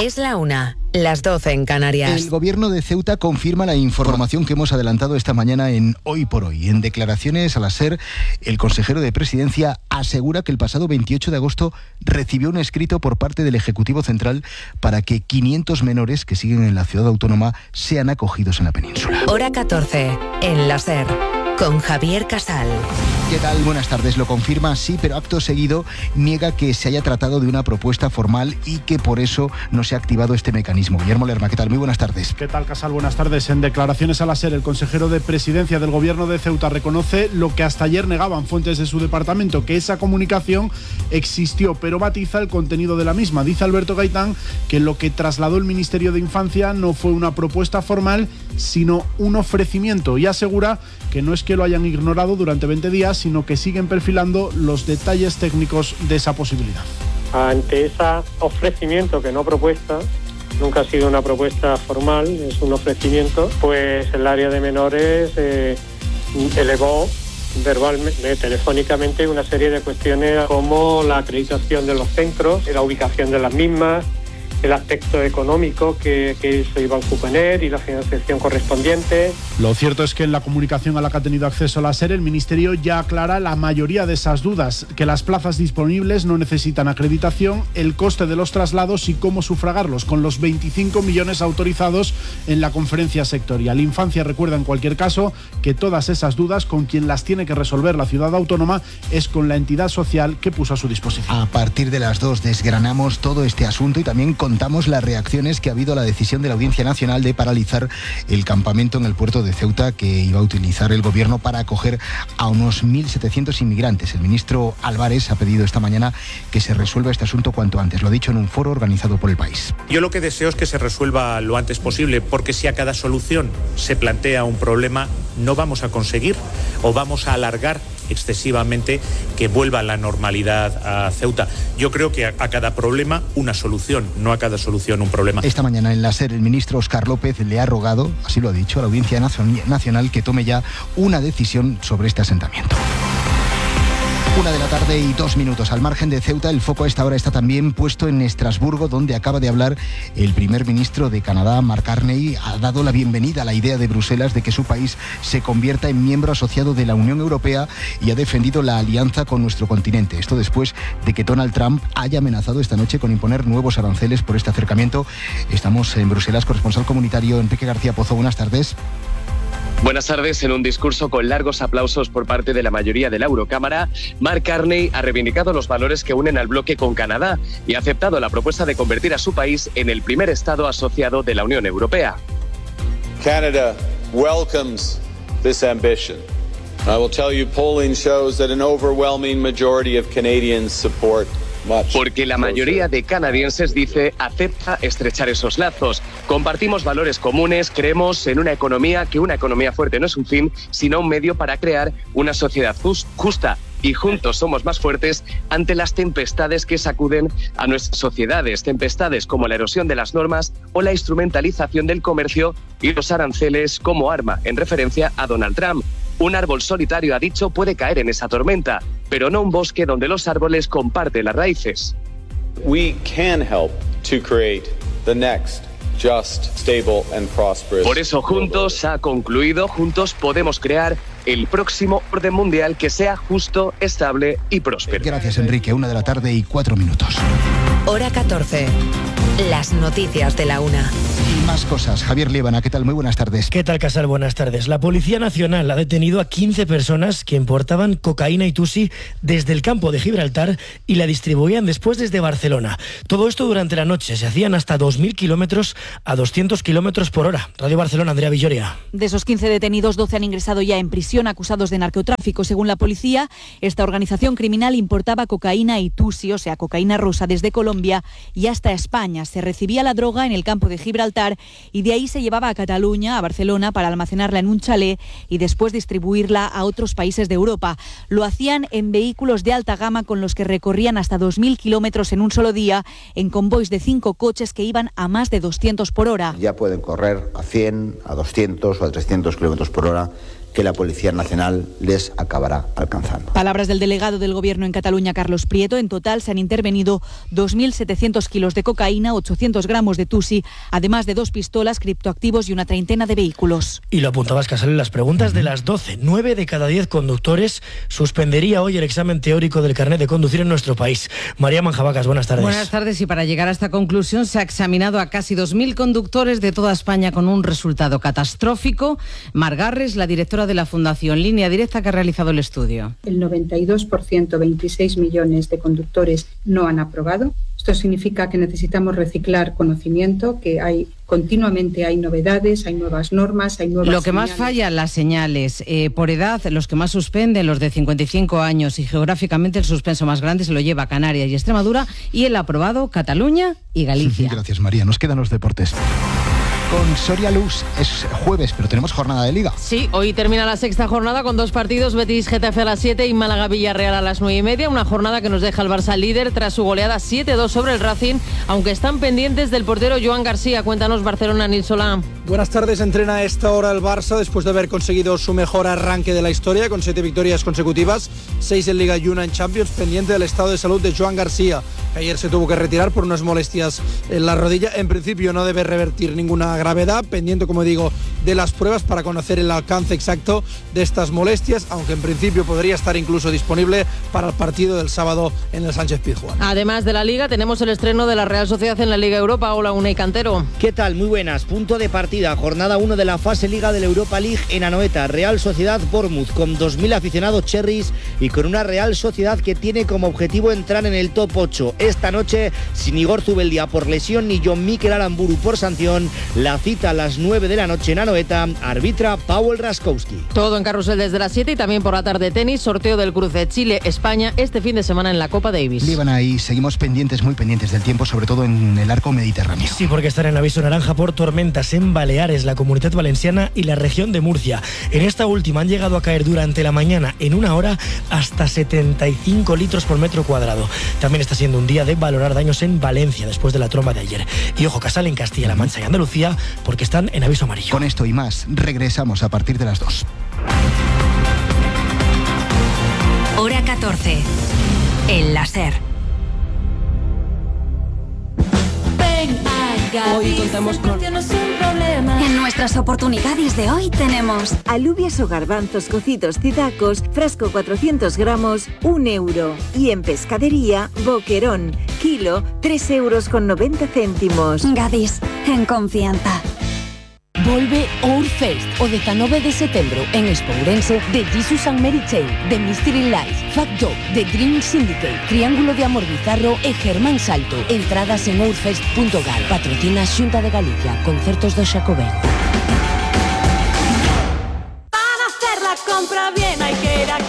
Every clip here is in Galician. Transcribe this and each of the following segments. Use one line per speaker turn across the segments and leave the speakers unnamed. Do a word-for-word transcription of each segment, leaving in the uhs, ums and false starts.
Es la una, las doce en Canarias.
El gobierno de Ceuta confirma la información que hemos adelantado esta mañana en Hoy por Hoy. En declaraciones a la SER, el consejero de Presidencia asegura que el pasado veintiocho de agosto recibió un escrito por parte del Ejecutivo Central para que quinientos menores que siguen en la ciudad autónoma sean acogidos en la península.
Hora catorce, en la SER, con Javier Casal.
¿Qué tal? Buenas tardes. Lo confirma, sí, pero acto seguido niega que se haya tratado de una propuesta formal y que por eso no se ha activado este mecanismo. Guillermo Lerma, ¿qué tal? Muy buenas tardes.
¿Qué tal, Casal? Buenas tardes. En declaraciones a la SER, el consejero de Presidencia del Gobierno de Ceuta reconoce lo que hasta ayer negaban fuentes de su departamento, que esa comunicación existió, pero matiza el contenido de la misma. Dice Alberto Gaitán que lo que trasladó el Ministerio de Infancia no fue una propuesta formal, sino un ofrecimiento, y asegura que no es que lo hayan ignorado durante veinte días, sino que siguen perfilando los detalles técnicos de esa posibilidad.
Ante ese ofrecimiento, que no propuesta, nunca ha sido una propuesta formal, es un ofrecimiento, pues el área de menores eh, elevó verbalmente, telefónicamente, una serie de cuestiones como la acreditación de los centros, la ubicación de las mismas, el aspecto económico que, que se iba a suponer y la financiación correspondiente.
Lo cierto es que en la comunicación a la que ha tenido acceso la SER, el Ministerio ya aclara la mayoría de esas dudas, que las plazas disponibles no necesitan acreditación, el coste de los traslados y cómo sufragarlos, con los veinticinco millones autorizados en la conferencia sectorial. Infancia recuerda en cualquier caso que todas esas dudas, con quien las tiene que resolver la ciudad autónoma, es con la entidad social que puso a su disposición.
A partir de las dos desgranamos todo este asunto y también con contamos las reacciones que ha habido a la decisión de la Audiencia Nacional de paralizar el campamento en el puerto de Ceuta que iba a utilizar el gobierno para acoger a unos mil setecientos inmigrantes. El ministro Álvarez ha pedido esta mañana que se resuelva este asunto cuanto antes. Lo ha dicho en un foro organizado por El País.
Yo lo que deseo es que se resuelva lo antes posible, porque si a cada solución se plantea un problema, no vamos a conseguir o vamos a alargar excesivamente que vuelva la normalidad a Ceuta. Yo creo que a, a cada problema una solución, no a cada solución un problema.
Esta mañana en la SER el ministro Óscar López le ha rogado, así lo ha dicho, a la Audiencia Nacional que tome ya una decisión sobre este asentamiento. Una de la tarde y dos minutos. Al margen de Ceuta, el foco a esta hora está también puesto en Estrasburgo, donde acaba de hablar el primer ministro de Canadá, Mark Carney. Ha dado la bienvenida a la idea de Bruselas de que su país se convierta en miembro asociado de la Unión Europea y ha defendido la alianza con nuestro continente. Esto después de que Donald Trump haya amenazado esta noche con imponer nuevos aranceles por este acercamiento. Estamos en Bruselas, corresponsal comunitario Enrique García Pozo. Buenas tardes.
Buenas tardes. En un discurso con largos aplausos por parte de la mayoría de la Eurocámara, Mark Carney ha reivindicado los valores que unen al bloque con Canadá y ha aceptado la propuesta de convertir a su país en el primer Estado asociado de la Unión Europea.
Canada welcomes this ambition. I will tell you, polling shows that an overwhelming majority of Canadians support.
Porque la mayoría de canadienses, dice, acepta estrechar esos lazos. Compartimos valores comunes, creemos en una economía, que una economía fuerte no es un fin, sino un medio para crear una sociedad just, justa. Y juntos somos más fuertes ante las tempestades que sacuden a nuestras sociedades. Tempestades como la erosión de las normas o la instrumentalización del comercio y los aranceles como arma, en referencia a Donald Trump. Un árbol solitario, ha dicho, puede caer en esa tormenta, pero no un bosque donde los árboles comparten las raíces.
We can help to create the next just, stable and prosperous.
Por eso juntos, ha concluido, juntos podemos crear el próximo orden mundial que sea justo, estable y próspero.
Gracias, Enrique. Una de la tarde y cuatro minutos.
Hora catorce. Las noticias de la una.
Y más cosas. Javier Líbana, ¿qué tal? Muy buenas tardes.
¿Qué tal, Casal? Buenas tardes. La Policía Nacional ha detenido a quince personas que importaban cocaína y tusi desde el campo de Gibraltar y la distribuían después desde Barcelona. Todo esto durante la noche. Se hacían hasta dos mil kilómetros a doscientos kilómetros por hora. Radio Barcelona, Andrea Villoria.
De esos quince detenidos, doce han ingresado ya en prisión acusados de narcotráfico. Según la policía, esta organización criminal importaba cocaína y tusi, o sea, cocaína rosa, desde Colombia y hasta España. Se recibía la droga en el campo de Gibraltar y de ahí se llevaba a Cataluña, a Barcelona, para almacenarla en un chalet y después distribuirla a otros países de Europa. Lo hacían en vehículos de alta gama con los que recorrían hasta dos mil kilómetros en un solo día, en convoys de cinco coches que iban a más de doscientos por hora.
Ya pueden correr a cien, a doscientos o a trescientos kilómetros por hora que la Policía Nacional les acabará alcanzando.
Palabras del delegado del Gobierno en Cataluña, Carlos Prieto. En total se han intervenido dos mil setecientos kilos de cocaína, ochocientos gramos de tusi, además de dos pistolas, criptoactivos y una treintena de vehículos.
Y lo apuntabas, Casal, en las preguntas de las doce. Nueve de cada diez conductores suspendería hoy el examen teórico del carnet de conducir en nuestro país. María Manjabacas, buenas tardes.
Buenas tardes, y para llegar a esta conclusión se ha examinado a casi dos mil conductores de toda España con un resultado catastrófico. Mar Garres, la directora de la Fundación Línea Directa, que ha realizado el estudio.
El noventa y dos por ciento, veintiséis millones de conductores no han aprobado. Esto significa que necesitamos reciclar conocimiento, que hay continuamente hay novedades, hay nuevas normas, hay nuevas
Lo que
señales.
más falla, las señales. Eh, por edad, los que más suspenden, los de cincuenta y cinco años, y geográficamente el suspenso más grande se lo lleva Canarias y Extremadura, y el aprobado Cataluña y Galicia.
Gracias, María. Nos quedan los deportes. Con Soria Luz es jueves, pero tenemos jornada de Liga.
Sí, hoy termina la sexta jornada con dos partidos, Betis Getafe a las siete y Málaga Villarreal a las nueve y media. Una jornada que nos deja el Barça líder tras su goleada siete dos sobre el Racing, aunque están pendientes del portero Joan García. Cuéntanos, Barcelona, Nil Solá.
Buenas tardes. Entrena a esta hora el Barça después de haber conseguido su mejor arranque de la historia, con siete victorias consecutivas, seis en Liga y una en Champions, pendiente del estado de salud de Joan García, que ayer se tuvo que retirar por unas molestias en la rodilla. En principio no debe revertir ninguna gravedad, pendiente, como digo, de las pruebas para conocer el alcance exacto de estas molestias, aunque en principio podría estar incluso disponible para el partido del sábado en el Sánchez Pizjuán.
Además de la Liga, tenemos el estreno de la Real Sociedad en la Liga Europa. Hola, Unai Cantero.
¿Qué tal? Muy buenas. Punto de partida, jornada uno de la fase Liga de la Europa League en Anoeta. Real Sociedad Bournemouth, con dos mil aficionados cherries y con una Real Sociedad que tiene como objetivo entrar en el top ocho. Esta noche, sin Igor Zubeldia por lesión ni John Mikel Aramburu por sanción, la cita a las nueve de la noche en Anoeta, arbitra Paweł Raskowski.
Todo en carrusel desde las siete y también por la tarde tenis, sorteo del cruce Chile-España este fin de semana en la Copa Davis.
Líbana, y seguimos pendientes, muy pendientes del tiempo, sobre todo en el arco mediterráneo.
Sí, porque están en aviso naranja por tormentas en Baleares, la Comunidad Valenciana y la región de Murcia. En esta última han llegado a caer durante la mañana, en una hora, hasta setenta y cinco litros por metro cuadrado. También está siendo un día de valorar daños en Valencia después de la tromba de ayer. Y ojo, Casal, en Castilla-La Mancha y Andalucía, porque están en aviso amarillo.
Con esto y más, regresamos a partir de las dos.
Hora catorce. El láser.
Hoy contamos con... En nuestras oportunidades de hoy tenemos
alubias o garbanzos cocidos Cidacos, frasco cuatrocientos gramos, un euro. Y en pescadería, boquerón, kilo, tres euros con noventa céntimos.
Gadis, en confianza.
Volve Ourfest o dezanove de setembro en Expo Ourense de Jesus and Mary Chain, de Mystery Lights, Fat Dog, The Dream Syndicate, Triángulo de Amor Bizarro e Germán Salto. Entradas en ourfest punto gal. Patrocina Xunta de Galicia. Concertos do Xacobeo.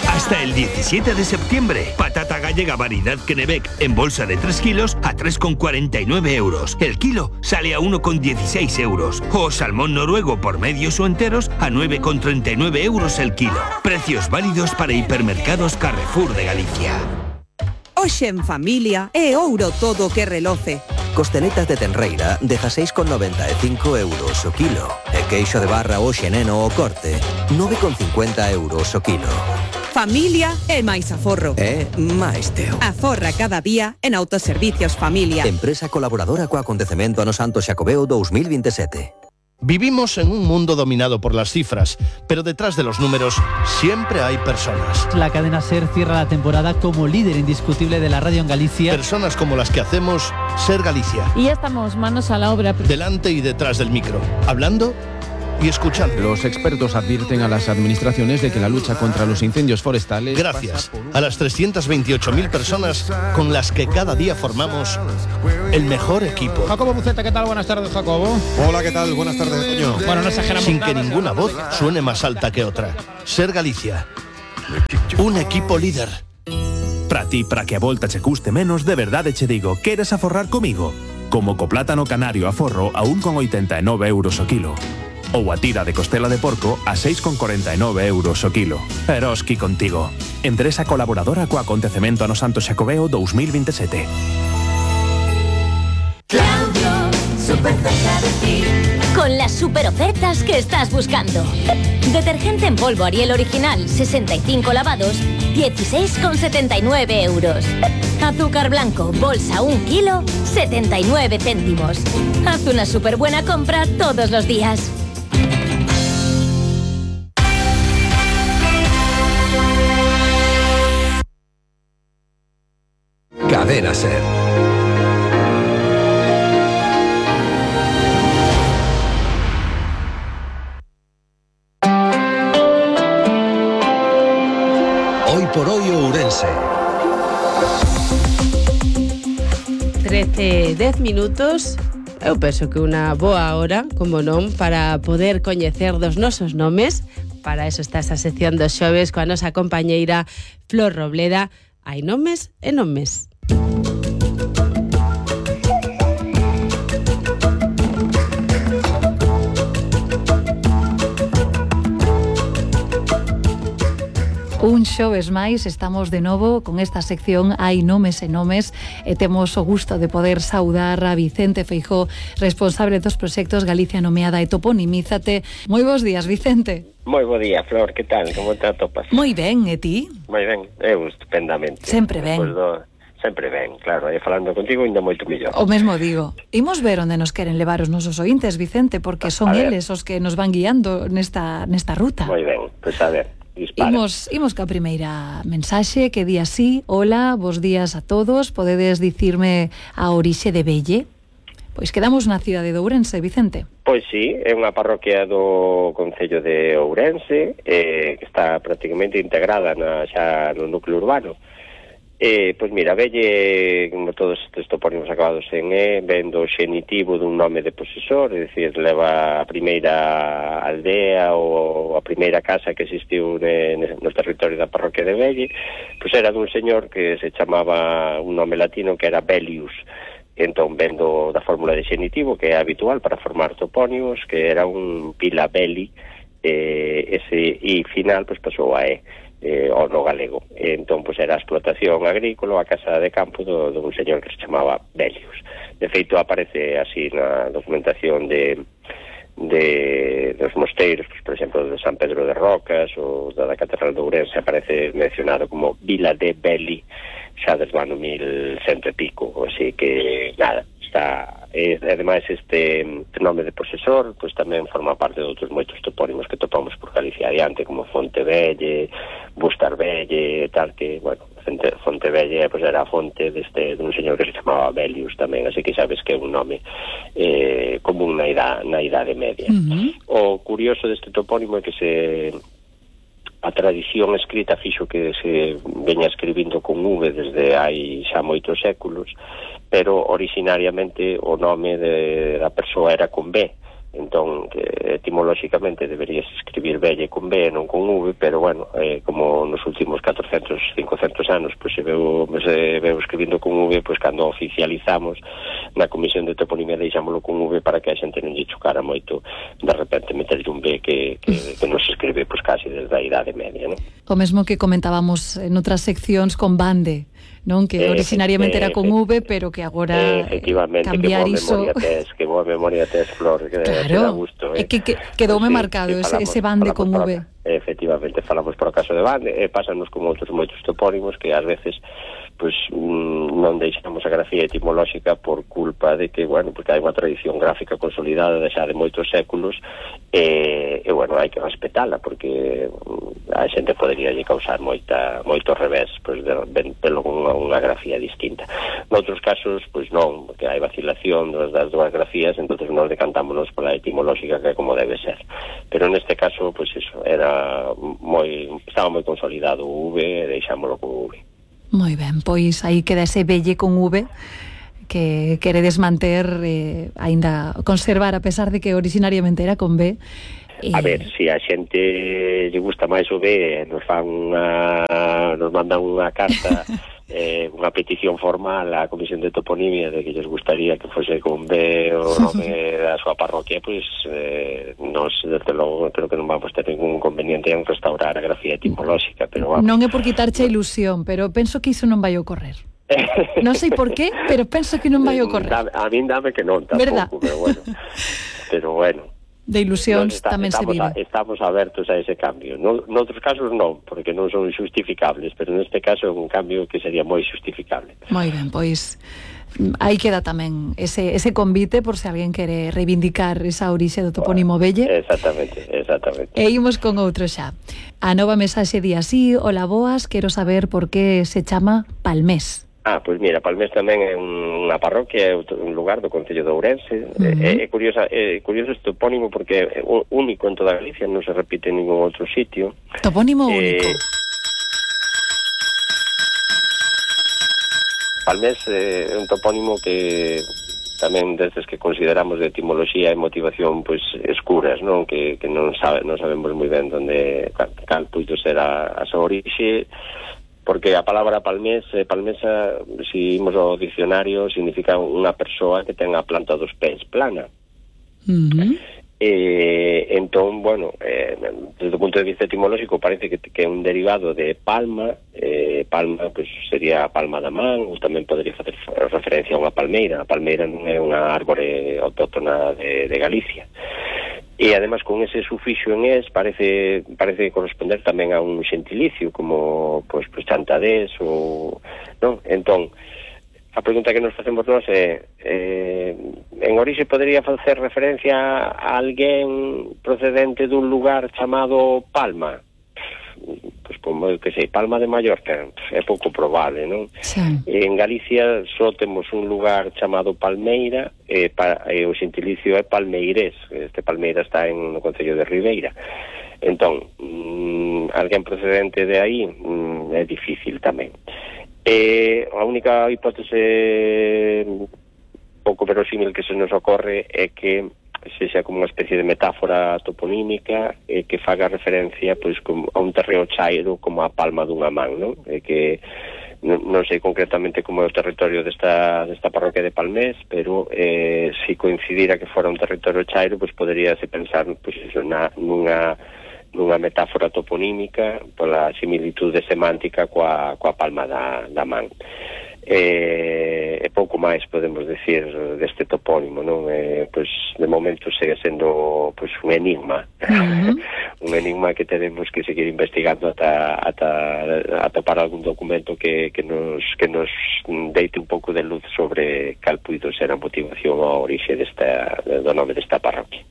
Hasta el diecisiete de septiembre, patata gallega variedad Kennebec en bolsa de tres kilos a tres con cuarenta y nueve euros. El kilo sale a uno con dieciséis euros. O salmón noruego por medios o enteros a nueve con treinta y nueve euros el kilo. Precios válidos para hipermercados Carrefour de Galicia.
Hoxe en familia é ouro todo que reloce.
Costeletas de tenreira, dezasseis con noventa e cinco euros o kilo. E queixo de barra hoxe neno o corte, nove con cincuenta euros o kilo.
Familia é máis aforro.
É máis teu.
Aforra cada día en Autoservicios Familia.
Empresa colaboradora co acontecemento ano Santo Xacobeo dos mil veintisiete.
Vivimos en un mundo dominado por las cifras, pero detrás de los números siempre hay personas.
La cadena SER cierra la temporada como líder indiscutible de la radio en Galicia.
Personas como las que hacemos SER Galicia.
Y ya estamos manos a la obra.
Delante y detrás del micro, hablando y escuchando.
Los expertos advierten a las administraciones de que la lucha contra los incendios forestales...
Gracias a las trescientas veintiocho mil personas con las que cada día formamos el mejor equipo.
Jacobo Buceta, ¿qué tal? Buenas tardes, Jacobo.
Hola, ¿qué tal? Buenas tardes, Toño.
Bueno, no exageramos
Sin
nada,
que ninguna voz suene más alta que otra. SER Galicia. Un equipo líder.
Para ti, para que a volta che custe menos, de verdade che digo, queres aforrar comigo? Como co plátano canario a forro a un con oitenta e nove euros o kilo. Ou a tira de costela de porco a seis con cuarenta y nueve euros o kilo. Eroski contigo. Empresa colaboradora co acontecemento ano Santo Xacobeo dos mil veintisiete.
Claudio, súper cerca de ti.
con las super ofertas que estás buscando. Detergente en polvo Ariel original, sesenta y cinco lavados, dieciséis con setenta y nueve euros. Azúcar blanco, bolsa un kilo, setenta y nueve céntimos. Haz una súper buena compra todos los días.
Cadena Ser. Hoy por hoy Ourense.
trece, dez minutos. Eu penso que unha boa hora, como non, para poder coñecer dos nosos nomes. Para eso está esa sección dos xoves coa nosa compañeira Flor Robleda. Hai nomes e nomes.
Un xoves máis, estamos de novo con esta sección Hai nomes e nomes e temos o gusto de poder saudar a Vicente Feijóo, responsable dos proxectos Galicia Nomeada e Toponimízate. Moi bons días, Vicente.
Moi bo día, Flor, que tal? Como te atopas?
Moi ben, e ti?
Moi ben, eu estupendamente.
Sempre ben.
Pues do... Sempre ben, claro, e falando contigo ainda moito mellor.
O mesmo digo. Imos ver onde nos queren levar os nosos ointes, Vicente, porque son eles os que nos van guiando nesta, nesta ruta.
Moi ben, pois pues a ver. Dispara.
Imos, imos ca primeira mensaxe que di así: hola, bos días a todos, podedes dicirme a orixe de Belle? Pois quedamos na cidade de Ourense, Vicente.
Pois sí, é unha parroquia do Concello de Ourense, eh, que está prácticamente integrada na, xa no núcleo urbano. Eh, pois mira, Belle, como todos estes topónimos acabados en E, ven do xenitivo dun nome de posesor, é dicir, leva a primeira aldea ou a primeira casa que existiu ne, no territorio da parroquia de Belle, pois era dun señor que se chamaba un nome latino que era Bellius. Entón, vendo da fórmula de xenitivo, que é habitual para formar topónimos, que era un Pila Belli, eh, ese I final, pois pasou a E. Eh, o no galego. Entón, pois era a explotación agrícola, a casa de campo do, do un señor que se chamaba Bellius. De feito, aparece así na documentación de, de dos mosteiros, pois, por exemplo, de San Pedro de Rocas ou da, da Catedral de Ourense, aparece mencionado como Vila de Belli, xa desde o ano mil cento e pico, así que, nada, está... E, ademais, este nome de posesor pois tamén forma parte de outros moitos topónimos que topamos por Galicia adiante, como Fontevelle, Bustarbelle, tal, que, bueno, Fontevelle pois era a fonte deste dun señor que se chamaba Bellius tamén, así que sabes que é un nome eh, común na idade, na idade media. Uh-huh. O curioso deste topónimo é que se... a tradición escrita fixo que se veña escribindo con V desde hai xa moitos séculos, pero originariamente o nome de, da persoa era con B. Entón, etimolóxicamente deberías escribir Belle con B, non con V, pero bueno, eh, como nos últimos catrocentos, cincocentos anos pois se veu, se veu escribindo con V, pois cando oficializamos na Comisión de Toponimia deixámoslo con V para que a xente non lle chocara moito de repente meterlle un B que, que, que non se escribe pois casi desde a idade media, non?
O mesmo que comentábamos en outras seccións con Bande, non? Que originariamente era con V, pero que agora cambiar iso...
Que boa memoria tes, Flor, que
claro,
gusto,
é
eh?
que, que quedoume
sí,
marcado
sí,
ese,
falamos,
ese Bande con V.
Pro, efectivamente, falamos por o caso de Bande, e pásanos con outros moitos topónimos que ás veces pois non deixamos a grafía etimolóxica por culpa de que, bueno, porque hai unha tradición gráfica consolidada xa de moitos séculos e, e bueno, hai que respetala porque a xente podería lle causar moita, moito revés pois de, de, de unha, unha grafía distinta. Noutros casos, pois non, porque hai vacilación das, das dúas grafías, entonces nos decantámonos pola etimolóxica que é como debe ser. Pero neste caso, pois eso, era moi, estaba moi consolidado o V e deixámoslo con V.
Moi ben, pois aí queda ese Belle con V que queredes manter, eh, aínda conservar, a pesar de que originariamente era con B.
E... A ver, se si a xente lle gusta máis o B, nos fan unha, nos mandan unha carta, eh, unha petición formal á Comisión de Toponimia de que lles gustaría que fose con B o nome da súa parroquia, pois eh, nos, desde logo, creo que non vamos ter ningún conveniente en restaurar a grafía etimolóxica, pero vamos.
Non é por quitarche a ilusión, pero penso que iso non vai ocorrer. Non sei por qué, pero penso que non vai ocorrer.
A min dame que non, tampouco, pero bueno. pero bueno.
De ilusións
está,
tamén se vive.
A, estamos abertos a ese cambio. No, noutros casos non, porque non son xustificables, pero neste caso é un cambio que sería moi xustificable.
Moi ben, pois aí queda tamén ese, ese convite por se alguén quere reivindicar esa orixe do topónimo Velle.
Exactamente, exactamente.
E imos con outro xa. A nova mensaxe di así: hola boas, quero saber por que se chama Palmés.
Ah, pois mira, Palmés tamén é unha parroquia, é un lugar do Concello de Ourense. Uh-huh. É, é, curiosa, é curioso este topónimo porque é único en toda Galicia, non se repite en ningún outro sitio.
Topónimo
eh,
único.
Palmés é un topónimo que tamén desdes que consideramos de etimoloxía e motivación pois escuras, non? Que, que non, sabe, non sabemos moi ben onde cal, cal puido ser a, a súa orixe, porque a palabra palmés, eh, palmesa, se imos ao dicionario, significa unha persoa que ten a planta dos pés plana.
Uh-huh.
Eh, entón, bueno, eh, desde o punto de vista etimolóxico parece que, que é un derivado de palma. eh, palma, pues, sería a palma da man, ou tamén podría facer referencia a unha palmeira. A palmeira non é unha árbore autóctona de, de Galicia. E además con ese sufixo en es parece parece corresponder tamén a un xentilicio como pois pues, pues, chantadés ou non. Entón, a pregunta que nos facemos nós é eh, en orixe podría facer referencia a alguén procedente dun lugar chamado Palma? Pois como que sei, Palma de Mallorca, é pouco probable, non?
Sí.
En Galicia só temos un lugar chamado Palmeira e, pa, e o xentilicio é Palmeirés. Este Palmeira está en no Concello de Ribeira. Entón, mmm, alguén procedente de aí mmm, é difícil tamén. E a única hipótese pouco verosímil que se nos ocorre é que sexa como unha especie de metáfora toponímica e que faga referencia pois como a un terreo chairo como a palma dunha man, non? E que non, non sei concretamente como é o territorio desta, desta parroquia de Palmés, pero eh, se coincidira que fora un territorio chairo, pois poderíase pensar pois, eso, na, nunha nunha metáfora toponímica pola similitude semántica coa, coa palma da, da man. E, e pouco máis podemos decir deste topónimo, non? E, pois, de momento segue sendo pois, un enigma. Uh-huh. Un enigma que tenemos que seguir investigando ata, ata atopar algún documento que, que, nos, que nos deite un pouco de luz sobre cal puido ser a motivación ou a orixe desta, do nome desta parroquia.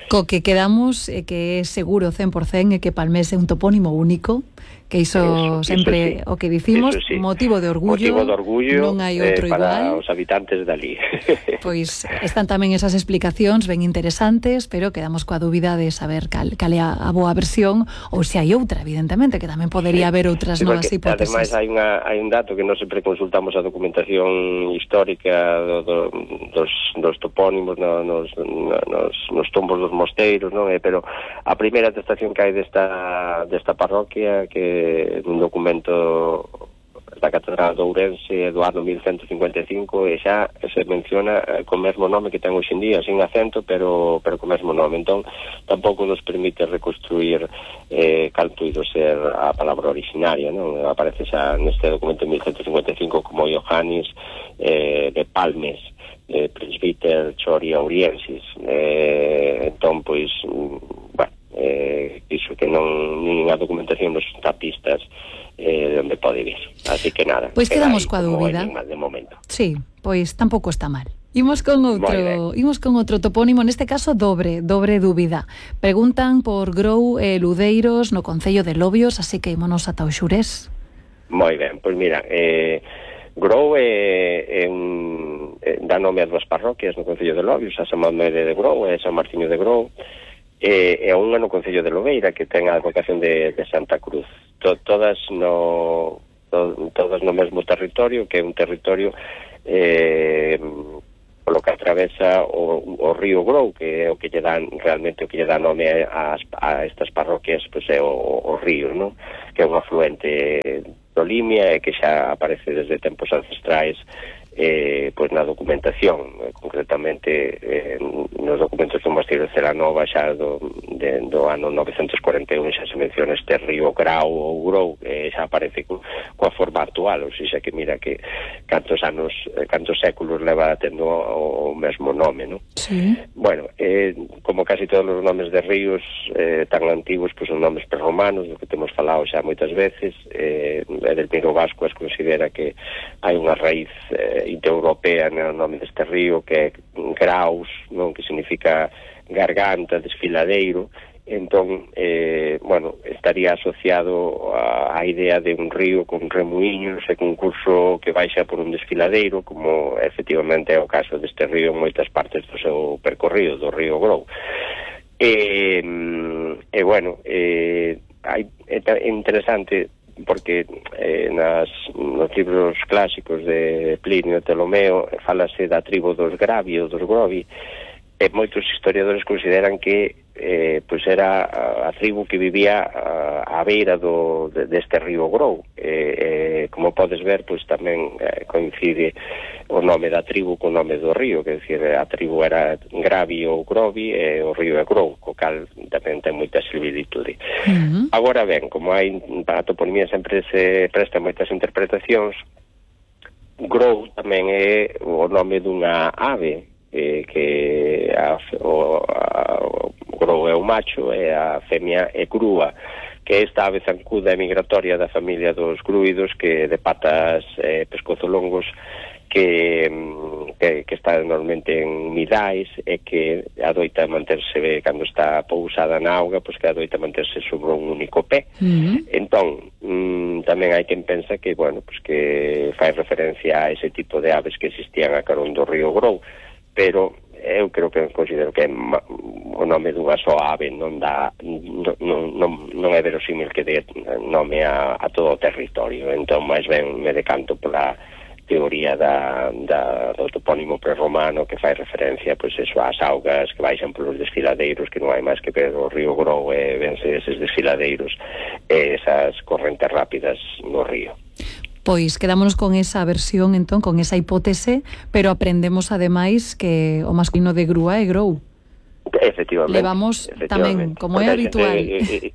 Co que quedamos é que é seguro cen por cento é que Palmés é un topónimo único, que iso, iso sempre iso sí. O que dicimos, sí. motivo de orgullo,
motivo de orgullo
non hai outro
eh, para
igual.
Os habitantes dali.
Pois están tamén esas explicacións ben interesantes, pero quedamos coa dúbida de saber cal, cal é a, a boa versión ou se hai outra, evidentemente, que tamén podería sí. haber outras sí, novas hipótesis.
Ademais hai, unha, hai un dato que non sempre consultamos a documentación histórica do, do, dos, dos topónimos no, nos, nos, nos tombos dos mosteiros, non? Eh, pero a primeira atestación que hai desta, desta parroquia, que un documento da Catedral de Ourense do ano mil cento cincuenta e cinco, e xa se menciona co mesmo nome que ten hoxe en día, sin acento, pero pero co mesmo nome. Entón, tampouco nos permite reconstruir eh, cal puido ser a palabra originaria, non? Aparece xa neste documento mil cento cincuenta e cinco como Iohannis eh, de Palmes, eh, presbiter Chori Auriensis. Eh, entón, pois, bueno, eh, iso que non nin a documentación nos dá pistas eh, de onde pode vir. Así que nada.
Pois quedamos coa dúbida.
De momento.
Sí, pois tampouco está mal. Imos con outro, imos con outro topónimo, neste caso dobre, dobre dúbida. Preguntan por Grou e Ludeiros no Concello de Lobios, así que ímonos ata o Xurés.
Moi ben, pois mira, eh Grou é, é un, é, dá nome a dúas parroquias no Concello de Lobios, a San Mamede de Grou e San Martiño de Grou. E, e unha no Concello de Lobeira que ten a advocación de, de Santa Cruz, to, todas no to, todas no mesmo territorio, que é un territorio eh, polo que atravesa o, o río Grou, que é o que lle dan realmente o que lle dá nome a, a estas parroquias, pois é o, o río, non? Que é un afluente do Limia e que xa aparece desde tempos ancestrais eh, pois na documentación, eh, concretamente eh, nos documentos do Mosteiro de Celanova xa do, de, do ano novecentos cuarenta e un xa se menciona este río Grau ou Grou, que xa aparece co, coa forma actual, ou seja que mira que cantos anos, cantos séculos leva tendo o, o mesmo mesmo nome, non?
Sí.
Bueno, eh, como casi todos os nomes de ríos eh, tan antigos, pois son nomes prerromanos, do que temos falado xa moitas veces. eh, Edelmiro Vascuas considera que hai unha raíz eh, indoeuropea no nome deste río, que é Graus, non? Que significa garganta, desfiladeiro. Entón, eh, bueno, estaría asociado a, a idea de un río con remuiños e con un curso que baixa por un desfiladeiro, como efectivamente é o caso deste río en moitas partes do seu percorrido, do río Grou. E, e bueno, eh, hai, é interesante porque eh, nas, nos libros clásicos de Plinio e Ptolomeo falase da tribo dos Gravi ou dos Grovi, e moitos historiadores consideran que eh, pois era a, a tribu que vivía a, a beira do, de, deste río Grou. Eh, eh, como podes ver, pois tamén eh, coincide o nome da tribu co nome do río, que decir, a tribu era Gravi ou Grovi e o río é Grou, co cal tamén ten moita similitude. Uh-huh. Agora ben, como hai a toponimia sempre se presta moitas interpretacións, Grou tamén é o nome dunha ave, Eh, que a, o, a, o grou é o macho e a femia é grúa, que esta ave zancuda e migratoria da familia dos grúidos, que de patas eh, pescozolongos, que, que, que está normalmente en midais e que adoita manterse, cando está pousada na auga, pois que adoita manterse sobre un único pé. Uh-huh. Entón, mm, tamén hai quen pensa que, bueno, pois que fai referencia a ese tipo de aves que existían a carón do río Grou, pero eu creo que considero que o nome dunha só ave non dá non, non, non é verosímil que dé nome a, a todo o territorio. Entón, máis ben me decanto pola teoría da, da, do topónimo prerromano, que fai referencia, pois eso, ás augas que baixan polos desfiladeiros, que non hai máis que ver o río Grou e vense eses desfiladeiros e esas correntes rápidas no río.
Pois quedámonos con esa versión, entón, con esa hipótese, pero aprendemos ademais que o masculino de grúa é grou.
Efectivamente.
Levamos tamén, como é habitual.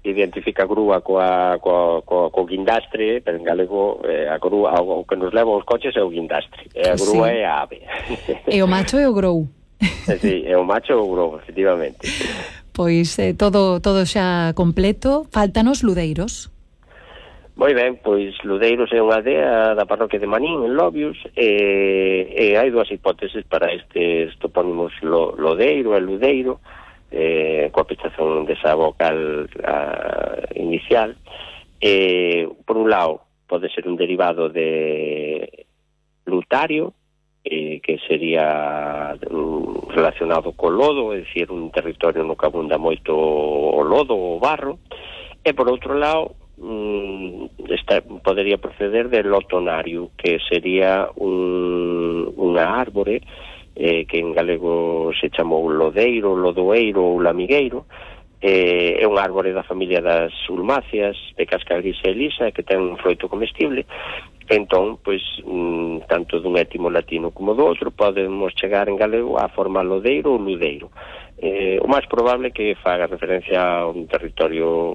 Identifica a grúa coa, coa, coa, coa guindastre, pero en galego eh, a grúa, o que nos leva os coches é o guindastre, e a grúa sí. É a ave.
E o macho é o grou.
Sí, é o macho ou o grou, efectivamente.
Pois eh, todo, todo xa completo, faltanos ludeiros.
Moi ben, pois Ludeiros é unha aldea da parroquia de Manín, en Lobios, e, e hai dúas hipóteses para estes topónimos lo, Lodeiro e Ludeiro, eh, coa pechazón desa vocal a, inicial. Eh, por un lado, pode ser un derivado de Lutario, eh, que sería um, relacionado co lodo, é dicir, un territorio no que abunda moito o lodo ou o barro, e por outro lado, Esta, podería proceder del lotonario, que sería un, unha árbore eh, que en galego se chamou lodeiro, lodoeiro ou lamigueiro. Eh, é unha árbore da familia das ulmáceas, de casca gris e lisa, que ten un froito comestible. Entón, pois, mm, tanto dun étimo latino como do outro, podemos chegar en galego á forma lodeiro ou ludeiro. Eh, o máis probable é que faga referencia a un territorio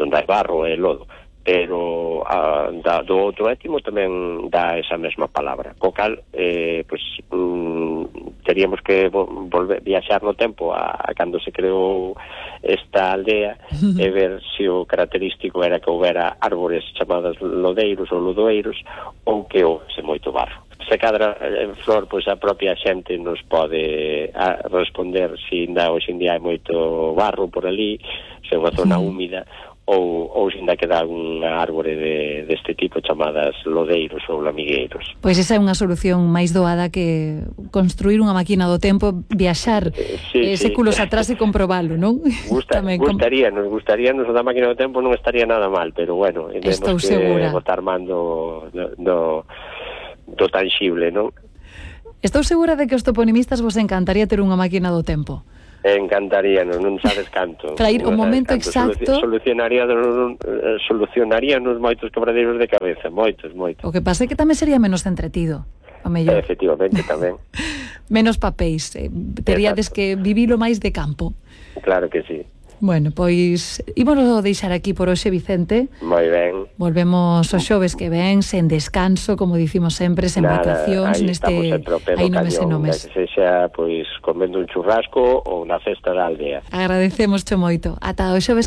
onde hai barro e lodo, pero a, da, do outro étimo tamén dá esa mesma palabra, co cal eh, pues, mm, teríamos que volver viaxar no tempo a, a cando se creou esta aldea e ver se o característico era que houbera árbores chamadas lodeiros ou lodoeiros ou que houbese moito barro. Se cadra en Flor, pois a propia xente nos pode a, responder se ainda hoxe en día hai moito barro por ali, se é unha zona húmida, ou, ou se ainda queda unha árbore de, deste tipo chamadas lodeiros ou lamigueiros.
Pois esa é unha solución máis doada que construir unha máquina do tempo, viaxar sí, eh, séculos sí. atrás e comprobalo, non?
Gusta, gustaría, nos gustaría, nos da máquina do tempo non estaría nada mal, pero bueno,
estou
temos que
segura.
botar mando no, no do tangible, non?
Estou segura de que os toponimistas vos encantaría ter unha máquina do tempo.
Encantaría, non, non sabes canto.
Para ir o momento exacto.
Solucionaría, solucionaría nos moitos quebradeiros de cabeza, moitos, moitos.
O que pasa é que tamén sería menos entretido, a mellor.
Efectivamente, tamén.
Menos papéis, eh, teríades que vivilo máis de campo.
Claro que sí.
Bueno, pois ímonos deixar aquí por hoxe, Vicente.
Moi ben.
Volvemos os xoves que ven, sen descanso, como dicimos sempre, sen
Nada,
vacacións,
aí
neste
aí
nomes e nomes.
Que sexa, pois, comendo un churrasco ou na festa da aldea.
Agradecemos cho moito. Ata o xoves